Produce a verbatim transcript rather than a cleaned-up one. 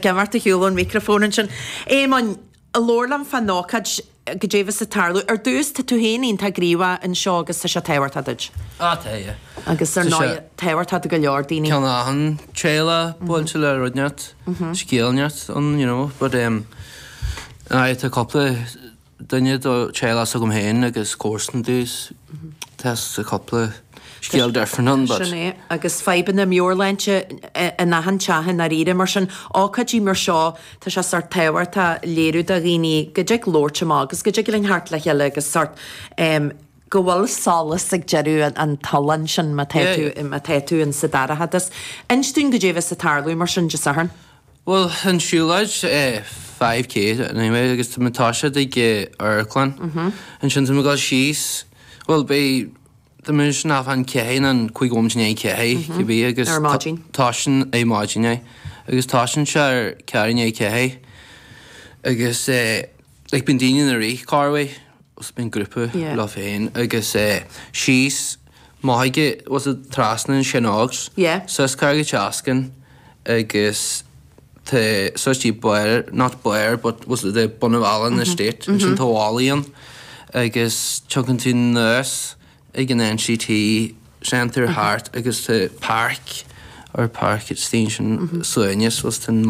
Imeacht ar shiúl ón micreafón ansin. Éamonn, labhair liom fán ócáid goidé bheas ag tarlú. Ar dtús tá tú féin iontach gníomhach anseo agus tá sé tábhachtach duit. Á tá, yeah. Agus ar Tá sé- ndóigh tábhachtach do go leor daoine. Ceann achan teaghlach buailte le rud inteacht, scéal inteacht ann, you know, but um, aye, tá cúpla duine do teaghlach s'agam féin agus comharsan dús. Tá cúpla scéal different ann, but Sin é agus fadhbanna meabhairshláinte in achan teach i ndáiríre mar sin ócáidí mar seo tá sé sórt tábhachtach léiriú do dhaoine go dtig labhairt amach agus go dtig linn theacht le chéile agus sórt um, go bhfuil solas ag deireadh an, an tolláin sin má tá Yeah, tú má tá tú in sa dorchadas. Inis dúinn goidé bheas ag tarlú mar sin Dé Sathairn. Well, an siúlóid eh, five K anyway, agus tá tá ag eh, amharclann. Ansin tá go síos, well beidh Tá mu ná an chéin an chuig om né cé cibé agus Ar maidin. Tá sin é maidin é agus tá sin sé ar ceathrú i ndiaidh ceathair agus eh, like bíonn daoine na rith carway os bíonn grúpa Yeah. le féin agus eh, síos maige was it trasna an Shinogs Yeah. Sus Carraig Seascann agus te such tí Blair not Blair but was it the Bunnavallen estate sin tá an agus tugann tú nurse ag an N C T Center Heart agus tá park or park at station suaimhneas was ten Tá